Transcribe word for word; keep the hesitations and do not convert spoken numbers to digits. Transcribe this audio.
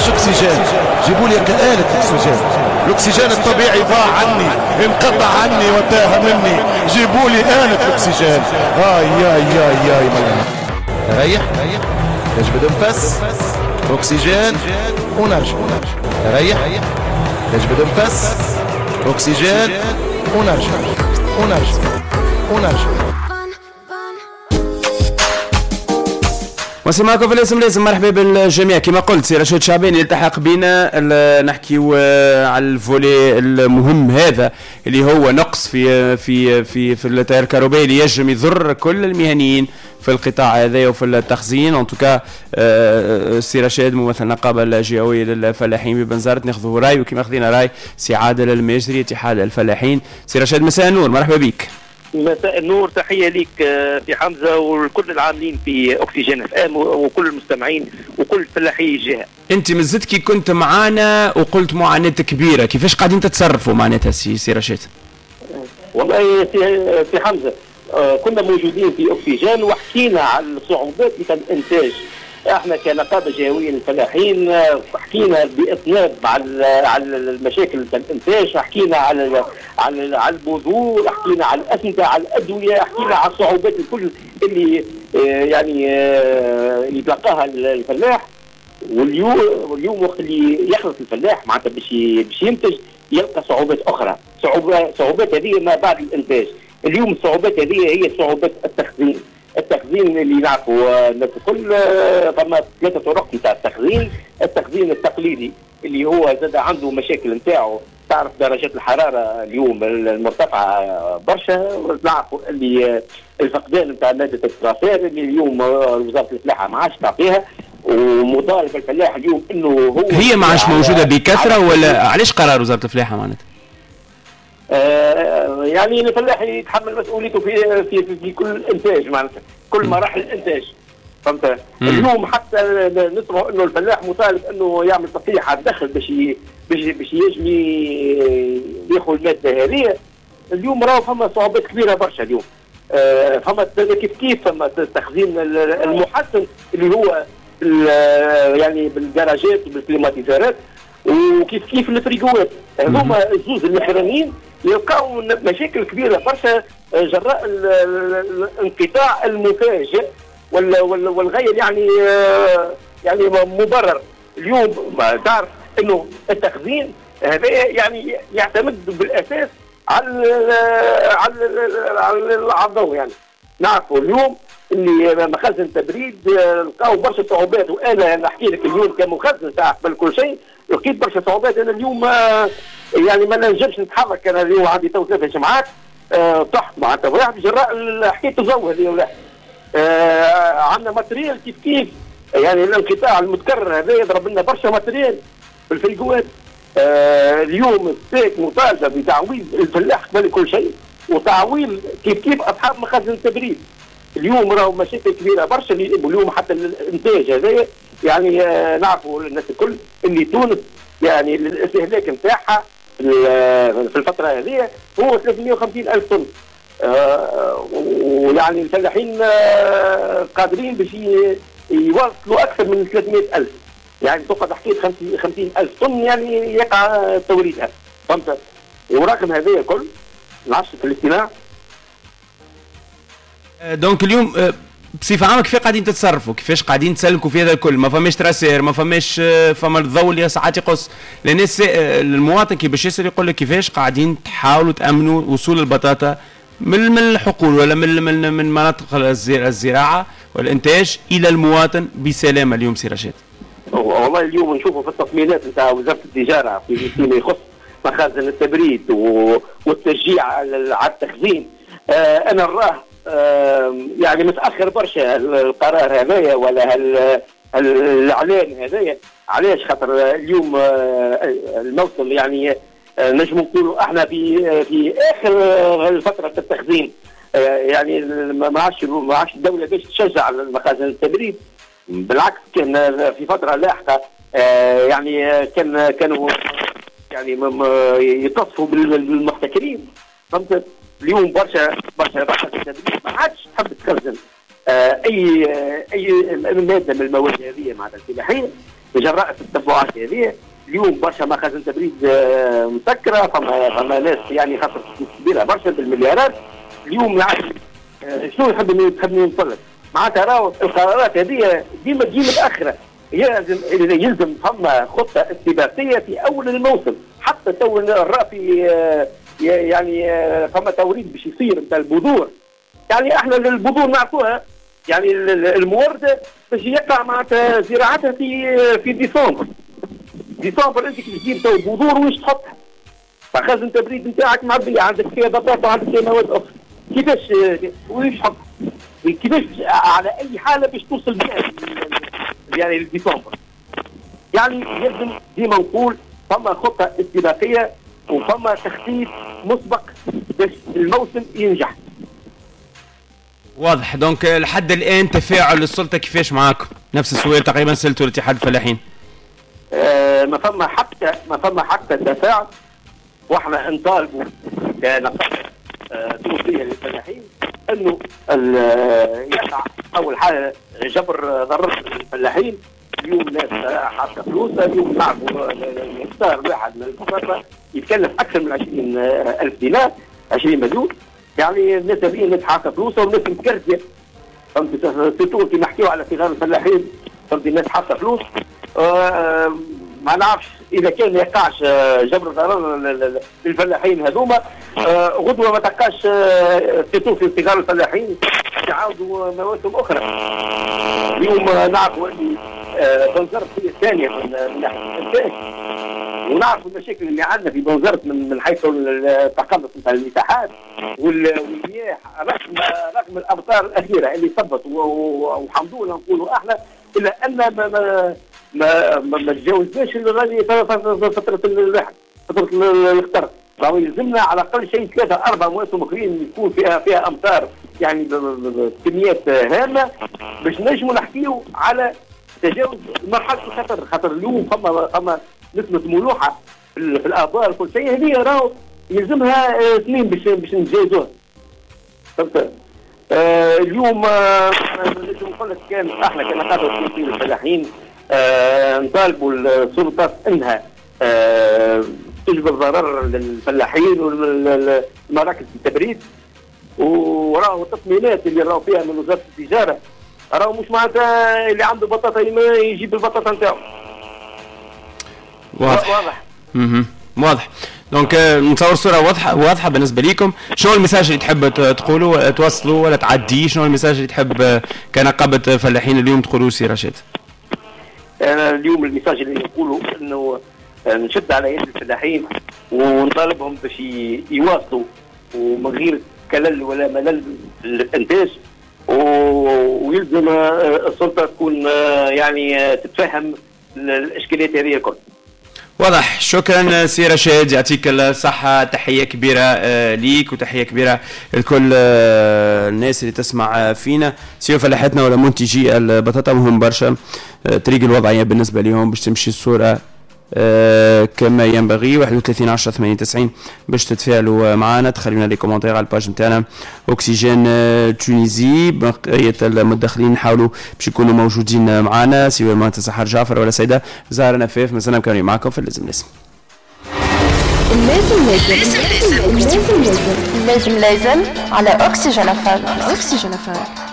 مش اكسجين، جيبوا لي آلة اكسجين. الاكسجين الطبيعي ضاع عني، انقطع عني وتاه مني، جيبوا لي آلة الاكسجين. آي ياي ياي ياي ريح، نجبد نفس اكسجين ونرجع، ريح نجبد نفس اكسجين ونرجع ونرجع ونرجع. وصل معكم في الاسم لازم. مرحبا بالجميع. كما قلت سي رشيد شعباني يلتحق بنا، نحكيو على ال volet المهم هذا اللي هو نقص في في في في التيار الكهربائي اللي يجم يضر كل المهنيين في القطاع هذا وفي التخزين. en tout cas سي رشيد ممثل النقابة الجهوية للفلاحين ببنزرت، ناخذ راي وكما خذينا راي سي عادل الماجري اتحاد الفلاحين. سي رشيد مساء النور، مرحبا بك. مساء النور، تحية ليك في حمزة وكل العاملين في أكسجين اف ام وكل المستمعين وكل فلاحي الجهة. أنت مازلت كي كنت معانا وقلت معاناة كبيرة، كيفاش قاعدين تتصرفوا معناتها سي سي رشيد؟ والله سي, سي حمزة كنا موجودين في أكسجين وحكينا على الصعوبات نتاع الإنتاج. احنا كنقابه جهويه للفلاحين حكينا باطناب على على المشاكل نتاع الانتاج، حكينا على على على البذور، حكينا على الاسمده، على الادوية، حكينا على الصعوبات الكل اللي يعني يتلقاها الفلاح. واليوم واليوم وقت اللي يخلص الفلاح معناتها باش باش ينتج يلقى صعوبات اخرى، صعوبات صعوبات هذه ما بعد الانتاج. اليوم الصعوبات هذه هي صعوبات التخزين. التخزين اللي نعرفوا الناس الكل فما ثلاثة طرق نتاع التخزين. التخزين التقليدي اللي هو زاد عنده مشاكل نتاعو، تعرف درجات الحرارة اليوم المرتفعة برشا، نعرفوا اللي الفقدان نتاع مادة الترافير اللي اليوم وزارة الفلاحة ما عادش تعطيها، ومطالب الفلاح اليوم انه هو هي ما عادش موجودة بكثرة. ولا علاش قرار وزارة الفلاحة معناتها؟ آه يعني الفلاح يتحمل مسؤوليته في في في كل انتاج معناتها كل مراحل الانتاج، فهمت؟ اليوم حتى نسمعوا انه الفلاح مطالب انه يعمل تصحيح على الدخل باش باش باش يجم ياخذ المادة هذه. اليوم راهو فما صعوبات كبيرة برشا اليوم. آه فما كيف كيف فما التخزين المحسن اللي هو يعني بالجراجات وبالكليماتيزارات وكيف كيف الفريغوات. هذوما الزوز الاخرانيين يلقاو مشاكل كبيرة برشا جراء الانقطاع المفاجئ والغير يعني يعني مبرر. اليوم ما تعرف انه التخزين هذا يعني يعتمد بالاساس على على على الضوء. يعني نعرفوا اليوم اللي مخازن تبريد لقاو برشا صعوبات، وانا نحكي لك اليوم كمخزن تاع قبل كل شيء لقيت برشا صعوبات. انا اليوم يعني ما نجمش نتحرك، انا اليوم عندي تو ثلاثة جمعات طحت معناتها واحد جراء حكاية الضوء هذه ولا عندنا matériel كيف كيف يعني الانقطاع المتكرر هذا يضرب لنا برشا matériel في الفريقوات. اليوم السيك مطالبه بتعويض الفلاح قبل كل شيء وتعويض كيف كيف اصحاب مخازن التبريد. اليوم راهو مشاكل كبيرة برشا. اليوم حتى الانتاج هذا يعني نعرفوا الناس الكل اللي تونس يعني الاستهلاك نتاعها في الفترة هذه هو ثلاثمئة وخمسين الف طن، آه ويعني الفلاحين آه قادرين باش يوصلوا اكثر من ثلاثمئة الف، يعني تقعد حكاية خمسين الف طن يعني يقع توريدها، فهمت؟ ورغم هذا الكل نعرفش في الاجتماع. donc اليوم بصفة عامة كيف قاعدين تتصرفوا؟ كيفاش قاعدين تسلكوا في هذا الكل؟ ما فماش traceur، ما فماش فما الضوء اللي ساعات يقص، لان المواطن كي باش يسال يقول لك كيفاش قاعدين تحاولوا تامنوا وصول البطاطا من من الحقول ولا من من من مناطق الزراعة والانتاج الى المواطن بسلامه اليوم سي رشيد؟ والله اليوم نشوفوا في التطمينات نتاع وزارة التجارة في فيما يخص مخازن التبريد والتشجيع على التخزين. آه انا نراه آه يعني متاخر برشا القرار هذايا ولا الاعلان هذايا. علاش؟ خاطر اليوم آه الموسم يعني آه نجم نقولوا احنا في في اخر فترة التخزين، آه يعني ما عادش ما عادش الدولة باش تشجع المخازن التبريد. بالعكس كان في فترة لاحقة آه يعني كان كانوا يعني يتصفوا بالمحتكرين، فهمت؟ اليوم برشا برشا برشا ما عادش تحب تخزن، اي اي مادة من المواد هذه معناتها الفلاحية جراء التتبعات هذه. اليوم برشا مخازن تبريد مسكره، فما فما ناس يعني خسرت كبيرة برشا بالمليارات. اليوم العالم شنو يحب تحبني نقول لك معناتها راهو القرارات هذه ديما تجي متاخرة، يلزم يلزم فما خطه استباقية في اول الموسم. حتى تو الرأفي يعني فما توريد باش يصير نتاع البذور، يعني احنا البذور نعرفوها يعني المورده باش يقع معناتها زراعتها في في ديسمبر. ديسمبر انت كي تجيب تو البذور واش تحطها؟ مخازن تبريد نتاعك معبيه، عندك فيها بطاطا وعندك فيها مواد اخرى، كيفاش واش تحط؟ كيفاش على اي حاله باش توصل بها يعني لديسمبر؟ يعني يلزم ديما نقول فما خطه استباقية وفما تخطيط مسبق باش الموسم ينجح. واضح. donc لحد الان تفاعل السلطة كيفاش معاكم؟ نفس السؤال تقريبا سالته الاتحاد الفلاحين. آه ما فما حتى ما فما حتى تفاعل، واحنا نطالبوا كنقابه آه تونسية للفلاحين انه يقع اول حاجة جبر ضرر الفلاحين. اليوم ناس حاطه فلوسها، اليوم نعرفوا الهكتار الواحد من البطاطا يتكلف اكثر من عشرين ألف دينار، عشرين مليون. يعني الناس هذه الناس حاطه فلوسها والناس متكرسيه، فهمت؟ surtout كي نحكيو على صغار الفلاحين، فهمت؟ الناس حاطه فلوس. آه ما نعرفش اذا كان ما يقعش جبر ضرر للفلاحين هذوما، آه غدوه ما تلقاش آه surtout في صغار الفلاحين يعاودوا مواسم اخرى. اليوم نعرفوا اللي بنزرت هي الثانية من ناحية الانتاج، ونعرفوا المشاكل اللي عندنا في بنزرت من من حيث التقلص نتاع المساحات والمياه، رغم رغم الامطار الاخيرة اللي صبت والحمد لله نقولوا احنا، الا ان ما ما ما, ما تجاوزناش الغالي فترة الواحد فترة الخطر. راهو يلزمنا على الاقل شيء ثلاثة اربع مواسم اخرين يكون فيها فيها امطار يعني بكميات هامة باش نجموا نحكيو على تجاوز مرحلة الخطر. خاطر اليوم فما فما نسبه ملوحه في الابار كل شيء، هذه راهو يلزمها سنين باش باش نتجاوزوها. فهمت؟ آه اليوم آه نجم نقول لك كان احنا كنقابه الفلاحين آه نطالبوا السلطات انها آه تجبر ضرر للفلاحين والمراكز التبريد، وراهو التطمينات اللي راهو فيها من وزارة التجارة راهو مش معناتها اللي عنده بطاطا يجيب البطاطا نتاعو. واضح. واضح. اها واضح. donc نتصور الصورة واضحة واضحة بالنسبة لكم. شنو ال message اللي تحب تقولوا توصلوا ولا تعديه؟ شنو ال message اللي تحب كنقابه فلاحين اليوم تقولوا سي رشيد؟ انا اليوم ال message اللي نقوله انه نشد على يد الفلاحين ونطالبهم باش يواصلوا ومن غير كلل ولا ملل الانتاج، ويلزم السلطة تكون يعني تتفهم الاشكاليات هذه الكل. واضح. شكرا سي رشاد، يعطيك الصحة، تحية كبيرة ليك وتحية كبيرة لكل الناس اللي تسمع فينا، سواء فلاحتنا ولا منتجي البطاطا. مهم برشا طريق الوضعية بالنسبة لهم باش تمشي الصورة كما ينبغي. واحد وثلاثين عشرة ثمانية وتسعين باش تتفاعلوا معنا، تخليونا les commentaires على ال page نتاعنا Oxygène Tunisie. بقية المتدخلين نحاولوا باش يكونوا موجودين معنا، سواء مهندس سحر جعفر ولا سيده زهره نفاف. مازلنا مكملين معكم في اللازم لازم. اللازم لازم اللازم لازم لازم لازم على Oxygène FM. Oxygène FM.